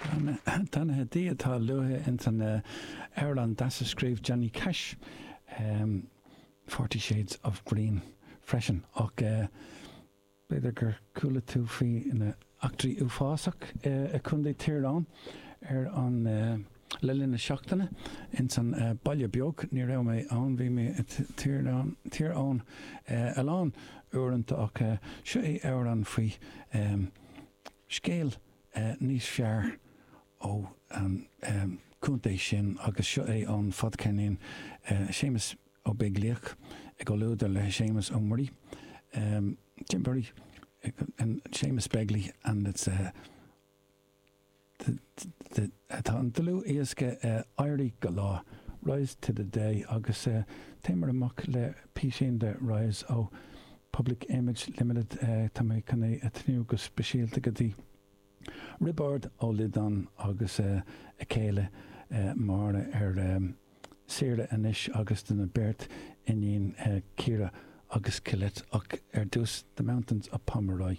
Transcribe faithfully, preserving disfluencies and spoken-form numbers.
Beannaithe Dia atá luaithe ins an amhrán deas a scríobh Johnny Cash, Forty Shades of Green, freisin. Ach b'fhéidir gur chuala tú faoi na eachtraí uafásach i Contae Thír Eoghain ar an le linn na seachtaine ins an baile beag. Ní raibh mé ann, bhí mé i Tír Eoghain a lán uaireanta ach seo é amhrán faoi scéal níos fearr ó an contae sin agus seo é ón fadcheirnín Séamus Ó Beaglaoich i gcomhluadar le Séamus Ó Muirí, Jim Murray and Séamus Begley and it's uh, the, the, tá an dlúthdhiosca Éirí go Lá, Rise to the Day agus uh, téimid amach le píosín de Rise ó Public Image Limited uh, tá mé chun é a tnúth go speisialta go dtí Roibeárd Ó Loideáin agus uh, a chéile uh, Máire ar um, saoire anois agus do na beirt iníon uh, Ciara agus Colette ach ar dtús The Mountains of Pomeroy.